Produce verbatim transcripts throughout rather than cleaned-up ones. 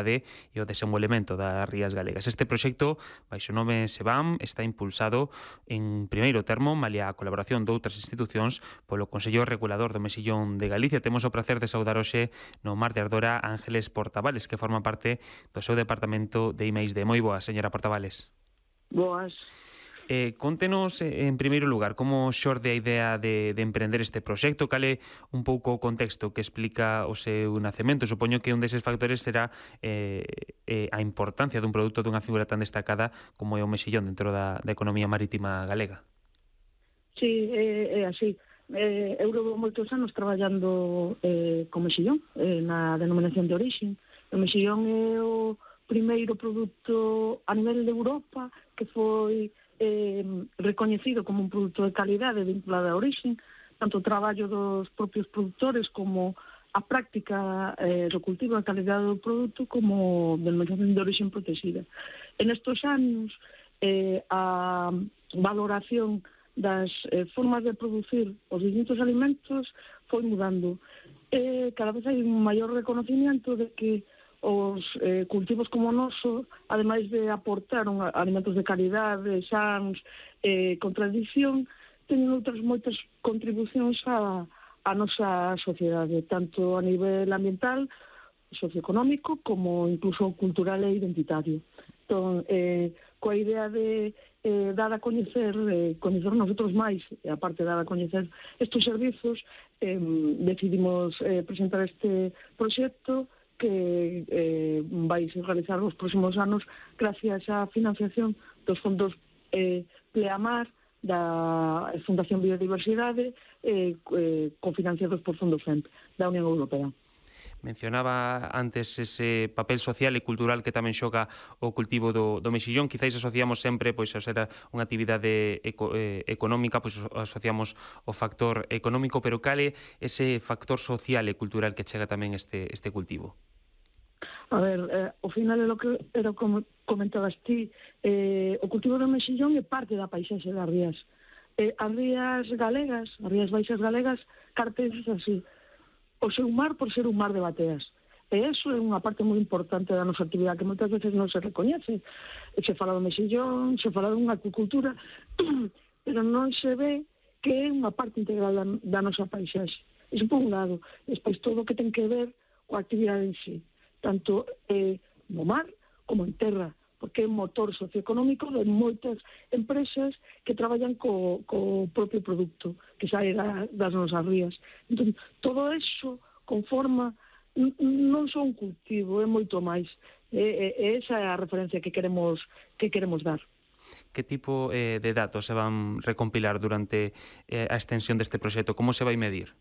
e o desenvolvemento das rías galegas. Este proxecto, baixo o nome SEBAM, está impulsado en primeiro termo, malia a colaboración de outras institucións, polo Consello Regulador do Mexillón de Galicia. Temos o prazer de saudar hoxe no Mar de Ardora Ángeles Portavales, que forma parte do seu departamento de I máis D. Moi boa, señora Portavales. Boas. Eh, contenos, eh, en primeiro lugar, como xorde a idea de, de emprender este proxecto, cal é un pouco o contexto que explica o seu nacemento. Supoño que un deses factores será eh, eh, a importancia dun produto dunha figura tan destacada como é o mexillón dentro da, da economía marítima galega. Sí, é, é así. Eh, eu levo moitos anos traballando eh, con mexillón, eh, na denominación de orixen. O mexillón é o primeiro produto a nivel de Europa que foi eh, recoñecido como un produto de calidade vinculado a orixen, tanto o traballo dos propios produtores como a práctica eh, do cultivo da calidade do produto como denominación de orixen protegida. En estos anos, eh, a valoración das eh, formas de producir os distintos alimentos foi mudando. Eh, cada vez hai un maior reconocimiento de que os eh, cultivos como o noso, ademais de aportar un, alimentos de calidade, sans, eh, con tradición, teñen outras moitas contribucións á, á nosa sociedade, tanto a nivel ambiental, socioeconómico, como incluso cultural e identitario. Entón, eh, coa idea de eh, dar a coñecer, eh, coñecer nosotros máis, e aparte de dar a coñecer estes servizos, eh, decidimos eh, presentar este proxecto que eh, vai se realizar nos próximos anos gracias á financiación dos fondos eh, Pleamar da Fundación Biodiversidade eh, eh, cofinanciados por fondos F E M P da Unión Europea. Mencionaba antes ese papel social e cultural que tamén xoga o cultivo do, do mexillón. Quizáis asociamos sempre, pois, a ser unha actividade eco, eh, económica, pois asociamos o factor económico, pero cal é ese factor social e cultural que chega tamén este, este cultivo? A ver, eh, ao final é lo que era como comentabas ti, eh, o cultivo do mexillón é parte da paisaxe das rías. Eh, as rías galegas, as rías baixas galegas, caracterizan así o seu mar por ser un mar de bateas. E iso é unha parte moi importante da nosa actividade que moitas veces non se recoñece. Se fala do mexillón, se fala dunha acuicultura, pero non se ve que é unha parte integral da, da nosa paisaxe. Iso por un lado. Despois todo o que ten que ver coa actividade en sí, tanto eh, no mar como en terra, porque é un motor socioeconómico de moitas empresas que traballan co, co propio produto que sae da, das nosas rías. Entón, todo eso conforma non só un cultivo, é moito máis. E, e esa é a referencia que queremos que queremos dar. Que tipo eh, de datos se van recompilar durante eh, a extensión deste proxecto? Como se vai medir?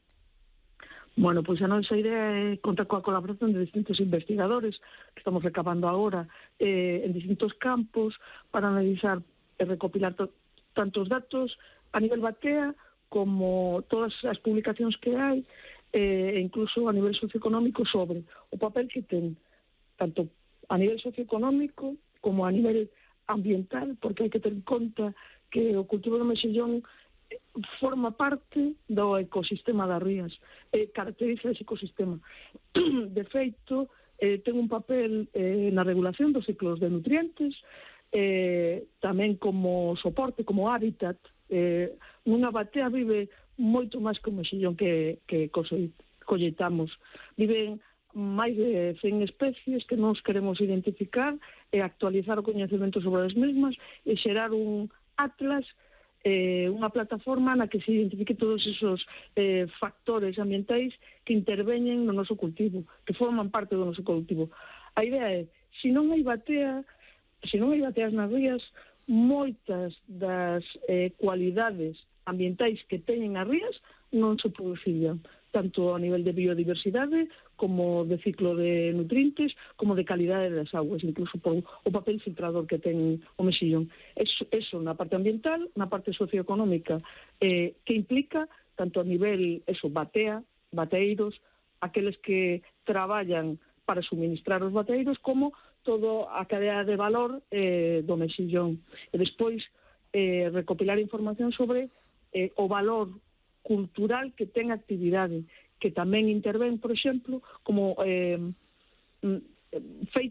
Bueno, pois a nosa idea é contar coa colaboración de distintos investigadores que estamos recabando agora eh, en distintos campos para analizar e recopilar to, tantos datos a nivel batea como todas as publicacións que hai e eh, incluso a nivel socioeconómico sobre o papel que ten tanto a nivel socioeconómico como a nivel ambiental, porque hai que ter en conta que o cultivo do mexillón forma parte do ecosistema das rías, eh, caracteriza ese ecosistema. De feito, eh, ten un papel eh, na regulación dos ciclos de nutrientes, eh, tamén como soporte, como hábitat. Eh, nunha batea vive moito máis que o mexillón que, que colleitamos. Viven máis de cen especies que nos queremos identificar e actualizar o coñecemento sobre as mesmas e xerar un atlas, eh, unha plataforma na que se identifique todos esos eh, factores ambientais que interveñen no noso cultivo, que forman parte do noso cultivo. A idea é, se non hai batea, se non hai bateas nas rías, moitas das eh, cualidades ambientais que teñen as rías non se producirían, tanto a nivel de biodiversidade como de ciclo de nutrientes, como de calidade das aguas, incluso por o papel filtrador que ten o mexillón. Eso, eso na parte ambiental, na parte socioeconómica, eh, que implica tanto a nivel, eso, batea, bateeiros, aqueles que traballan para suministrar os bateeiros, como toda a cadea de valor eh, do mexillón. E despois eh, recopilar información sobre eh, o valor cultural que ten a actividade, que tamén intervén, por exemplo, como eh, feito